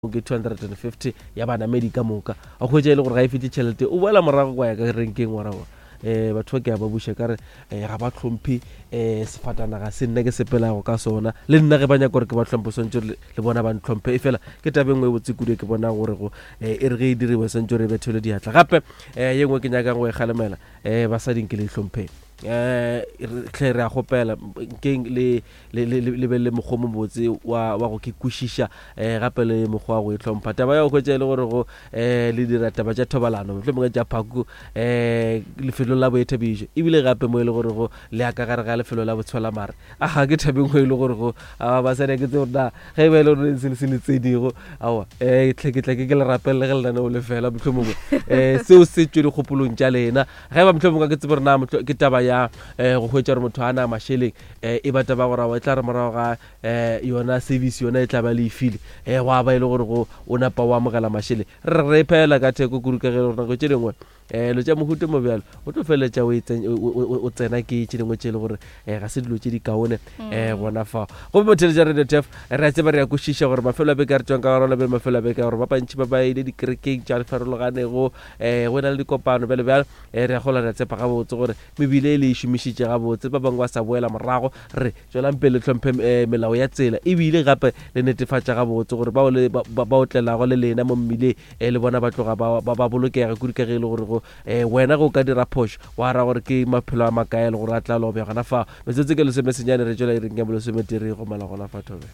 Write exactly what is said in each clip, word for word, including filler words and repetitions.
Ke two hundred and fifty ya banamedi ka moka, a hwetša e le gore ga e fete tšhelete, o boela morago kwa ya ka renkeng wa ra um batho ba ke a ba buša ka re um ga ba hlomphe um sefatanaga se nna ke sepelago ka sona. Le nna ge ba nyaka gore ke ba hlomphe, swantse le bona ba ntlhomphe. E fela ke taba e nngwe e botse kudu ke bona gore go um e re ge e diriwe swantse re bethele diatla. Gape um ye nngwe ke nyakang go e kgalemela, um basading ke le hlompheng, um tlhe re a kgopela nkeng le le le le be le mokgwa o mobotse wa wa go ke kwešiša, um gape le mokgwa wa go e hlompha. Taba ya go hwetša e le gore go um le dira taba tša thobalano, mohlomongwe tša phaku um lefelong la boithabišo, ebile gape mo e le gore go le ya ka gare ga lefelo la botshwelamare, aga ke thabeng e le gore go basadi ke tse gore na ge e ba e le gore se se le tsenego, aowa um tlhe ke tla ke ke le rapelele ge lenaneo le fela, mohlomongwe um seo se tšwe dikgopolong tša lena. Ge ba mohlomongwe ke tsebe gore na ke taba ya um go hwetša gore motho a na mašeleng, um e ba taba gore e tla re morago ga um yona service yona e tla ba le e file, um gwa ba e le gore go o napa o amogela mašeleng. Re re phela ka theko kudu ka ge gore nako tše dingwe um lo tša mohuta mo bjalo o tlo feleletša o tsena ke tše dingwe tše e le gore um ga se dilo tše di kaone um gona fao. Gomme motheletša Radio Turf, re a tseba, re a kwešiša gore mafelo a beke a re tswang ka gare ona mafelo a beke gore ba bantši ba ba ile dikerekeng tša farologanego, um go na le dikopano bjalo bjalo. um Re a gola, re a tshepa gabotse gore mebile e le e šomišitše gabotse, ba bangwe ba sa boela morago. Re tswelang pele tlhomphe um melao ya tsela, ebile gape le netefatša gabotse gore bao le ba o tlelago le lena mo mmileng um le bona ba tloga ba bolokega kudu, ka ge e le gore go um wena ge o ka dira phošo wa ra gore ke maphelo a makae le gore a tla lobja gona fa. Metsotso ke lesomesenyane re tšwela iring ya bolesometee re gomela gona fa thobe.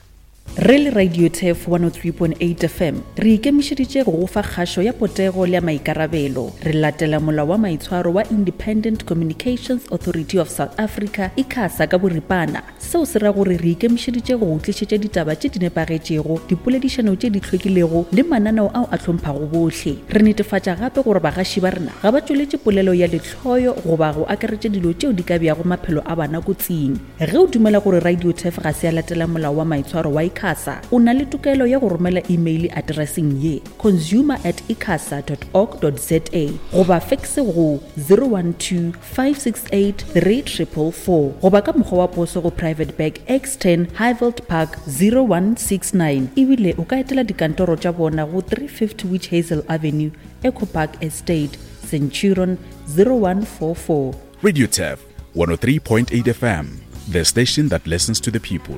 Re le Radio Turf one oh three point eight F M re ikemišeditše go go fa kgašo ya potego le ya maikarabelo. Re latela molao wa maitshwaro wa Independent Communications Authority of South Africa, ICASA ka boripana. Seo se ra gore re ikemišeditše go go tlišetša ditaba tše di nepagetšego, dipoledišano tše di hlwekilego le mananeo ao a hlomphwago bohle. Re netefatša gape gore bagaši ba rena ga ba tšweletše polelo ya lehloyo goba go akaretša dilo tšeo di ka beago maphelo a bana kotsing. Ge o dumela gore Radio Turf ga se ya latela molao wa maitshwaro wa ICASA, o na le tokelo ya go romela email addresseng ye consumer at icasa dot org dot za goba fax go zero one two five six eight three triple four goba ka mokgwa wa poso go Private Bag X ten Highveld Park zero one six nine. Ebile o ka etela dikantoro tša bona go three fifty Witch Hazel Avenue, Echo Park Estate, Centurion zero one four four. Radio Turf one oh three point eight F M, the station that listens to the people.